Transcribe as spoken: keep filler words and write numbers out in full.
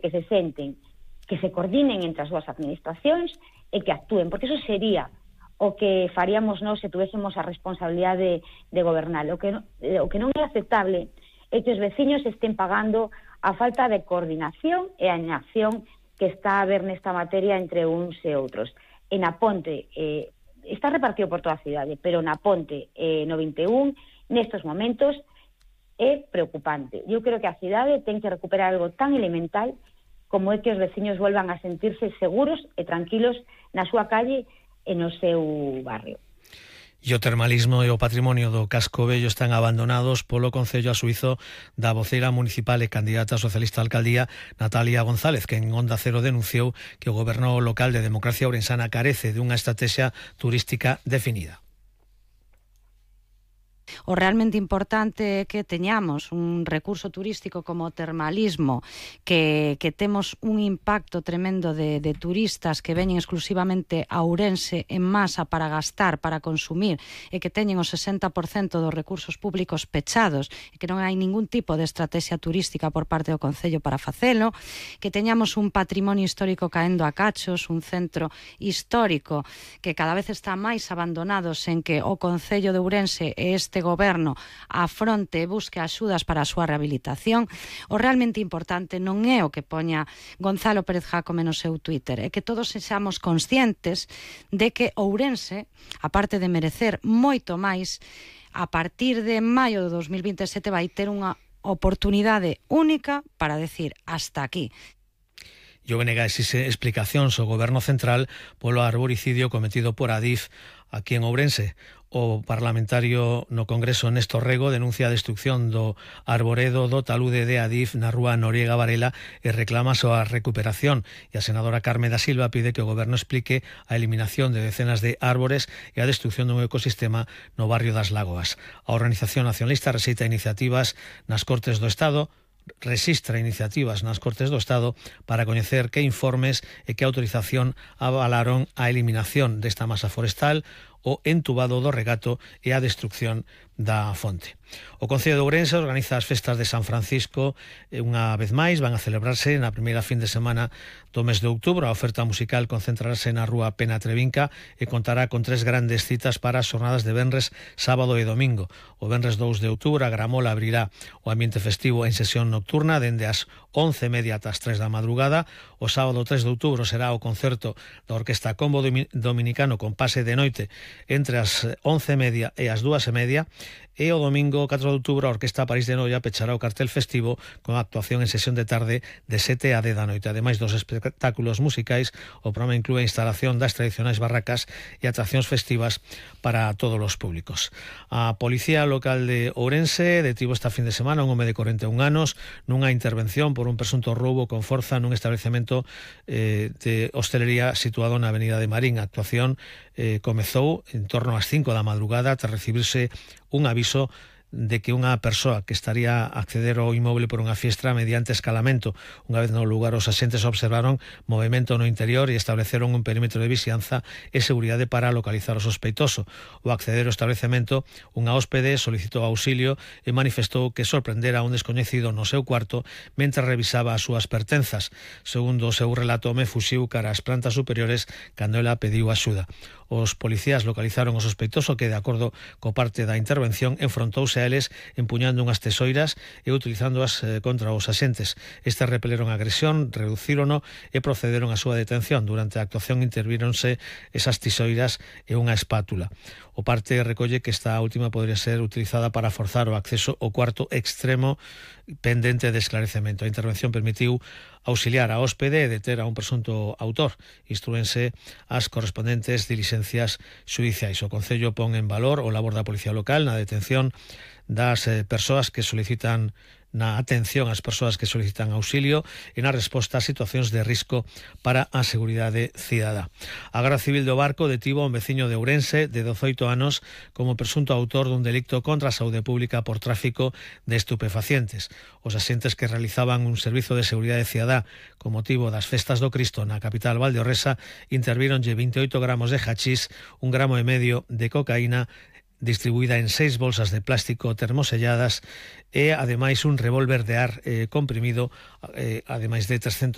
que se senten, que se coordinen entre as dúas administracións e que actúen, porque eso sería o que faríamos nós se tuvéssemos a responsabilidade de, de gobernar. O que, o que non é aceptable é que os veciños estén pagando a falta de coordinación e a inacción que está a haber nesta materia entre uns e outros. E na Ponte, eh, está repartido por toda a cidade, pero na Ponte eh, no vinte e un, nestes momentos, é preocupante. Eu creo que a cidade ten que recuperar algo tan elemental como é que os veciños volvan a sentirse seguros e tranquilos na súa calle e no seu barrio. E o termalismo e o patrimonio do Casco Vello están abandonados polo Concello a suízo da voceira municipal e candidata socialista a alcaldía Natalia González, que en Onda Cero denunciou que o goberno local de Democracia Ourensana carece dunha estrategia turística definida. O realmente importante é que teñamos un recurso turístico como o termalismo, que, que temos un impacto tremendo de, de turistas que veñen exclusivamente a Ourense en masa para gastar, para consumir, e que teñen o sesenta por cento dos recursos públicos pechados, e que non hai ningún tipo de estrategia turística por parte do Concello para facelo, que teñamos un patrimonio histórico caendo a cachos, un centro histórico que cada vez está máis abandonado, sen que o Concello de Ourense e este goberno afronte e busque axudas para a súa rehabilitación. O realmente importante non é o que poña Gonzalo Pérez Jácome no seu Twitter, é que todos sexamos conscientes de que Ourense, aparte de merecer moito máis, a partir de maio de dos mil vinte e sete vai ter unha oportunidade única para decir hasta aquí. E o B N G exixe explicacións ao Goberno Central polo arboricidio cometido por Adif aquí en Ourense. O parlamentario no Congreso Néstor Rego denuncia a destrucción do arboredo do talude de Adif na rúa Noriega Varela e reclama a súa recuperación. E a senadora Carme da Silva pide que o Goberno explique a eliminación de decenas de árbores e a destrucción dun ecosistema no barrio das Lagoas. A Organización Nacionalista rexeita iniciativas nas Cortes do Estado, resistra iniciativas nas Cortes do Estado para coñecer que informes e que autorización avalaron a eliminación desta masa forestal, o entubado do regato e a destrucción da fonte. O Concello de Ourense organiza as festas de San Francisco unha vez máis, van a celebrarse na primeira fin de semana do mes de outubro. A oferta musical concentrarase na rúa Pena Trevinca e contará con tres grandes citas para as xornadas de venres, sábado e domingo. O venres dous de outubro a Gramola abrirá o ambiente festivo en sesión nocturna dende as once e media ata as tres da madrugada. O sábado tres de outubro será o concerto da Orquesta Combo Dominicano con pase de noite entre as once e media e as dúas e media, e o domingo catro de outubro a Orquesta París de Noia pechará o cartel festivo con actuación en sesión de tarde de sete a dez da noite. Ademais dos espectáculos musicais, o programa inclúe a instalación das tradicionais barracas e atraccións festivas para todos os públicos. A Policía Local de Ourense detivo esta fin de semana un home de corenta e un anos nunha intervención por un presunto roubo con forza nun establecemento eh, de hostelería situado na Avenida de Marín. A actuación eh, comezou en torno ás cinco da madrugada tras recibirse un aviso de que unha persoa que estaría a acceder ao inmoble por unha fiestra mediante escalamento. Unha vez no lugar, os axentes observaron movimento no interior e estableceron un perímetro de vixianza e seguridade para localizar o sospeitoso. O acceder ao establecemento, unha hóspede solicitou auxilio e manifestou que sorprendera a un descoñecido no seu cuarto mentre revisaba as súas pertenzas. Segundo o seu relato, me fuxiu cara ás plantas superiores cando ela pediu axuda. Os policías localizaron o sospeitoso que, de acordo co parte da intervención, enfrontouse a eles empuñando unhas tesoiras e utilizándoas eh, contra os axentes. Estes repeleron a agresión, reducírono e procederon á súa detención. Durante a actuación intervíronse esas tesoiras e unha espátula. O parte recolle que esta última podría ser utilizada para forzar o acceso ao cuarto extremo pendente de esclarecemento. A intervención permitiu auxiliar a hóspede e deter a un presunto autor. Instrúense as correspondentes dilixencias xudiciais. O Concello pon en valor o labor da Policía Local na detención das eh, persoas que solicitan na atención ás persoas que solicitan auxilio e na resposta a situacións de risco para a seguridade cidadá. A Garda Civil do Barco detivo a un veciño de Ourense de dezoito anos como presunto autor dun delicto contra a saúde pública por tráfico de estupefacientes. Os axentes que realizaban un servizo de seguridade cidadá con motivo das festas do Cristo na capital valdeorresa intervíronlle veintioito gramos de hachís, un gramo e medio de cocaína distribuída en seis bolsas de plástico termoselladas e ademais un revólver de ar eh, comprimido, eh, ademais de trescentos